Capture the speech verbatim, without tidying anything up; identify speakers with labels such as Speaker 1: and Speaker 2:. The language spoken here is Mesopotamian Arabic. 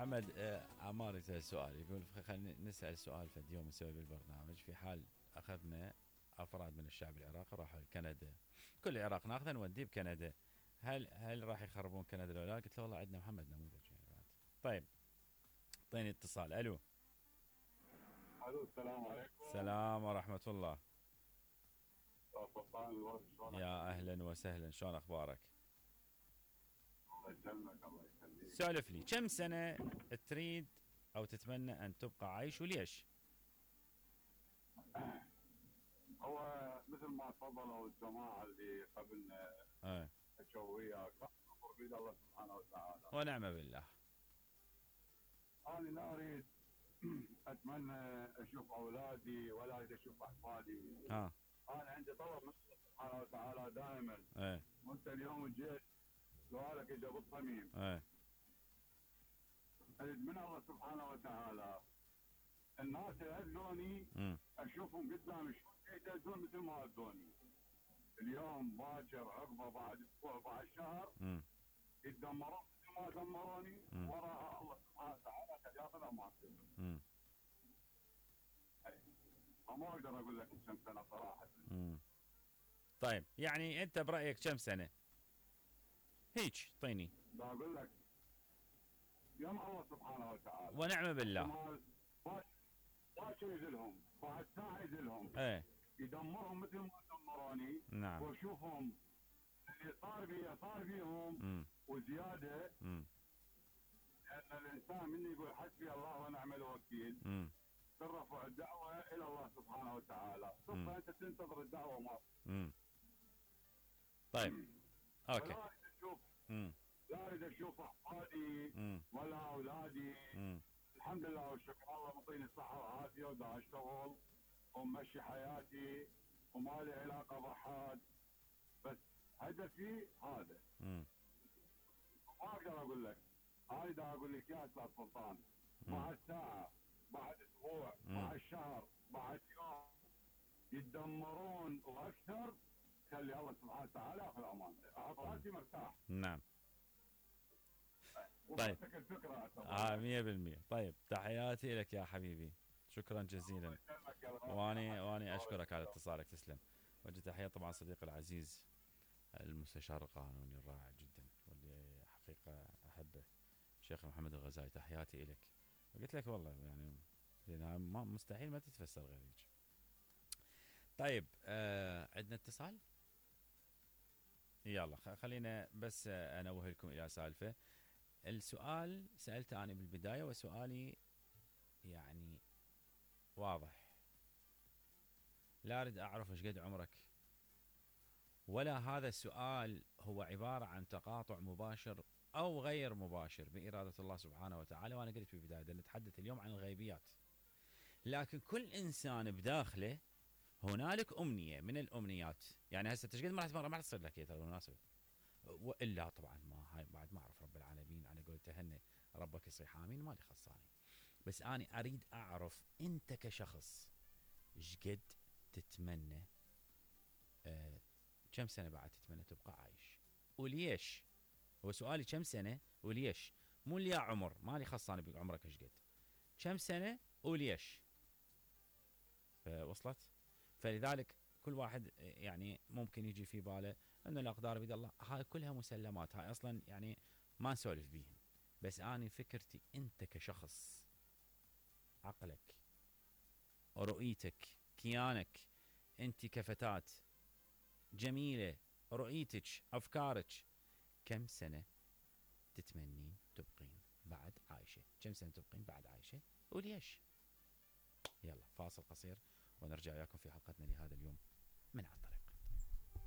Speaker 1: محمد آه، عمار يسأل سؤال، يقول خلينا نسأل سؤال فد يوم نسوي بالبرنامج، في حال أخذنا أفراد من الشعب العراقي راحوا لكندا، كل العراق ناخذه نوديه بكندا، هل هل راح يخربون كندا ولا لا؟ قلت له والله عندنا محمد نموذج يعني بعد. طيب اعطيني اتصال. الو.
Speaker 2: الو السلام عليكم.
Speaker 1: السلام ورحمة الله.
Speaker 2: سلطان الورد شلونك؟
Speaker 1: يا أهلا وسهلا، شلون أخبارك؟
Speaker 2: الله يسلمك الله يخليك.
Speaker 1: سولف لي، كم سنة تريد أو تتمنى أن تبقى عايش وليش؟
Speaker 2: هو مثل ما تفضلوا الجماعة اللي قبلنا
Speaker 1: ايه
Speaker 2: حكوا وياك، الامر بيد الله سبحانه وتعالى.
Speaker 1: ونعم بالله.
Speaker 2: انا لا اريد اتمنى اشوف اولادي ولا اريد اشوف احفادي.
Speaker 1: ها.
Speaker 2: انا عندي طلب من الله سبحانه وتعالى دائما.
Speaker 1: ايه
Speaker 2: وانت اليوم جيت سؤالك اجى بالصميم.
Speaker 1: ايه
Speaker 2: اريد من الله سبحانه وتعالى الناس اللي اذوني
Speaker 1: امم
Speaker 2: اشوفهم قدامي شلون يدزون مثل ما اذوني. اليوم باكر عقبه بعد اسبوع بعد شهر
Speaker 1: امم
Speaker 2: يتدمرون مثل ما دمروني،
Speaker 1: مم.
Speaker 2: وراها الله سبحانه وتعالى قد ياخذ امانتهم.
Speaker 1: امم
Speaker 2: ما اقدر اقول لك كم سنه صراحه.
Speaker 1: امم طيب يعني أنت برأيك كم سنة؟ هيك اعطيني.
Speaker 2: دا اقول لك يوم الله سبحانه وتعالى
Speaker 1: ونعم بالله.
Speaker 2: باكر يذلهم بعد ساعه يذلهم
Speaker 1: ايه
Speaker 2: يدمرهم مثل ما دمروني.
Speaker 1: نعم.
Speaker 2: واشوفهم اللي صار بي صار فيهم
Speaker 1: امم
Speaker 2: وزياده.
Speaker 1: امم
Speaker 2: لان الانسان من يقول حسبي الله ونعم الوكيل
Speaker 1: امم
Speaker 2: ترفع الدعوه الى الله سبحانه وتعالى، ثم انت تنتظر الدعوه ما.
Speaker 1: امم طيب اوكي.
Speaker 2: ولا اريد اشوف
Speaker 1: امم
Speaker 2: لا اريد اشوف احفادي
Speaker 1: امم
Speaker 2: ولا اولادي.
Speaker 1: امم
Speaker 2: الحمد لله والشكر الله معطيني الصحه والعافيه ودا اشتغل ومشي حياتي وما لي علاقه بحد، بس هدفي هذا.
Speaker 1: امم
Speaker 2: ما اقدر اقول لك، انا دا اقول لك يا استاذ سلطان بعد ساعه بعد اسبوع
Speaker 1: مم.
Speaker 2: بعد شهر بعد يوم يتدمرون واكثر، خلي الله سبحانه وتعالى ياخذ امانته، احط راسي مرتاح.
Speaker 1: نعم.
Speaker 2: طيب الفكره
Speaker 1: اه مية بالمية. طيب تحياتي لك يا حبيبي، شكرا جزيلا. واني واني اشكرك على اتصالك، تسلم. وجه تحيه طبعا صديقي العزيز المستشار القانوني الرائع جدا واللي حقيقه احبه الشيخ محمد الغزالي، تحياتي لك. وقلت لك والله يعني لأنها ما مستحيل ما تتفسر غير هيك. طيب آه عندنا اتصال. يلا خلينا بس انوه لكم الى سالفه. السؤال سالته انا بالبدايه وسؤالي يعني واضح، لا اريد اعرف ايش قد عمرك، ولا هذا السؤال هو عباره عن تقاطع مباشر او غير مباشر باراده الله سبحانه وتعالى. وانا قلت في البدايه نتحدث اليوم عن الغيبيات، لكن كل انسان بداخله هنالك امنيه من الامنيات. يعني هسه ايش قد ما راح تصير لك هي ترى بالمناسبه، والا طبعا ما هاي بعد ما اعرف رب العالمين، على قول تهنى ربك يصيح امين ما لي خصاني. بس انا اريد اعرف انت كشخص ايش قد تتمنى، آه كم سنه بعد تتمنى تبقى عايش وليش؟ هو سؤالي كم سنه وليش، مو اللي يا عمر ما لي خصاني بعمرك ايش قد، كم سنه وليش. وصلت؟ فلذلك كل واحد يعني ممكن يجي في باله ان الاقدار بيد الله، هاي كلها مسلمات، هاي اصلا يعني ما نسولف بيهم. بس اني فكرتي انت كشخص، عقلك، رؤيتك، كيانك، انت كفتاة جميلة، رؤيتك، افكارك، كم سنة تتمنين تبقين بعد عايشة؟ كم سنة تبقين بعد عايشة وليش؟ يلا فاصل قصير ونرجع وياكم في حلقتنا لهذا اليوم من عطر.